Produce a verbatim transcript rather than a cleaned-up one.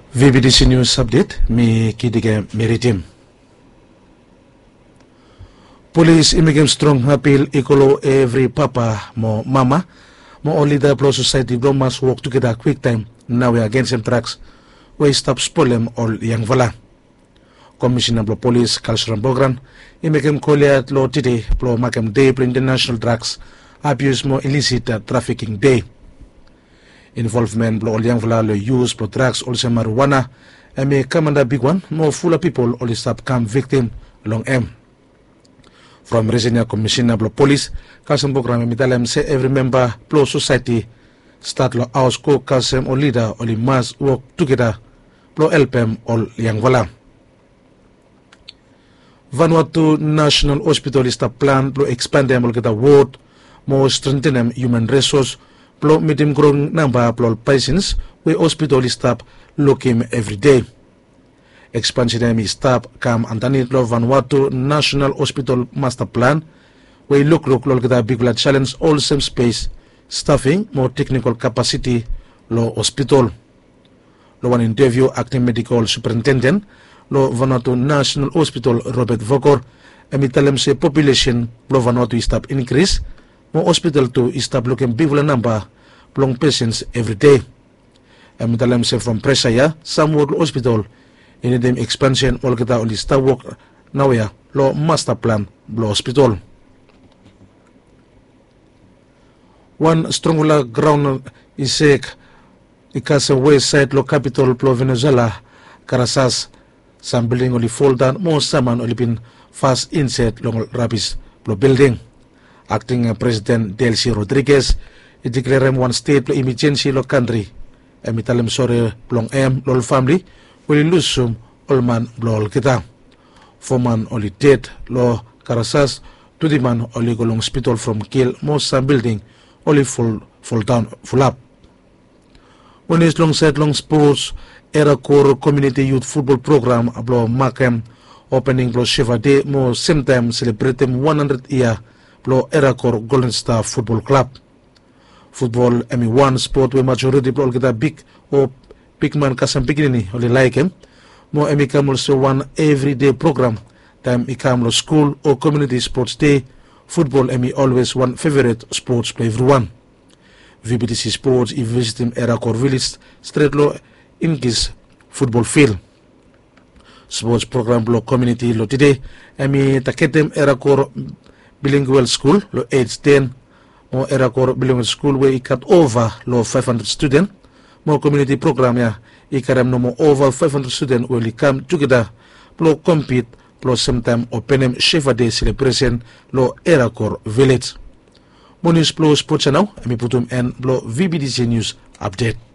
Vbtc nius apdet mi kidikem mi ridim. Polis i mekem strong apil i go long evri papa mo mama mo ol lida blong sosaeti blong mas wok tugeta kwiktaem naoia agensem draks we i stap spolem ol yangfala. Komisina blong polis kalsram bogran i mekem kol ya long tide blong makem dei blong intanasenal draks abius mo ilisit trafiking dei. Involvmen blong ol yangfala long yus blong draks olsem mariwana em i kam anda bigwan mo fula pipol oli stap kam viktim long em. From risen ya komisina blong polis kalsram bogran em i talem se evri memba blong sosaeti stat long haos go kasem ol lida oli mas wok tugeta blong helpem ol yangfala. Vanuatu nasenal hospitol i stap plan blong ekspandem olgeta wod mo strentenem hiuman resos blong mitim growing namba blong ol pesens we hospitol i stap lukim evri dei. Ekspansen ya em i stap kam andanit long vanuatu nasenal hospitol masta plan we i lukluk long olgeta bigfala selens olsem spes stafing mo teknikol kapasiti long hospitol. Long wan inteviu akting medikol superintenden long vanuatu nasenal hospitol robet vokor em i talem se populesen blong vanuatu i stap inkris mo hospitol tu i stap lukim bigfala namba blong pesens evri dei. Em i talem se from presa ya samwod long hospitol i nidim ekspansen olgeta oli stap wok naoia long masta plan blong hospitol. Wan strongfala graon i sek i kasem wes saed long kapitol blong venezuela karasas. Sam bilding oli foldaon mo saman oli bin fas inset long ol rabis blong bilding. Akting presiden delsi rodriges i diklerem wan stet blong imejensi long kantri. Em i talem sore blong em long ol famli we oli lusum ol man blong olgeta. Fo man oli ded long karasas. Twenti man oli go long hospitol from kil mo sam bilding oli foldaon fulap. Wenes long saed long spots, erakor komiuniti yut futbol program blong makem opening blong sheva de mo semtaem selebretem wan handred yia blong erakor golden star futbol klab. Futbol em i wan spot we majoriti blong olgeta big o bigman kasem pikinini oli laekem. Mo em i kam olsem wan evride program taem i kam long skul o komiuniti spots de. Futbol em i olwes wan feveret spots blong evriwan. Vbtc spots i visitim erakor vilej stret long inkis futbol fil. Spots program blong komiuniti long tide em i taketem erakor bilinguel skul long ej ten mo erakor bilinguel skul we i gat ova long faef handred studen. Mo komiuniti program ya i karem nomo ova faef handred studen we oli kam tugeta blong kompit blong semtaem openem sheva de selebresen long erakor vilej. Mo nius blong spots ya nao em i putum en blong vbtc nius apdet.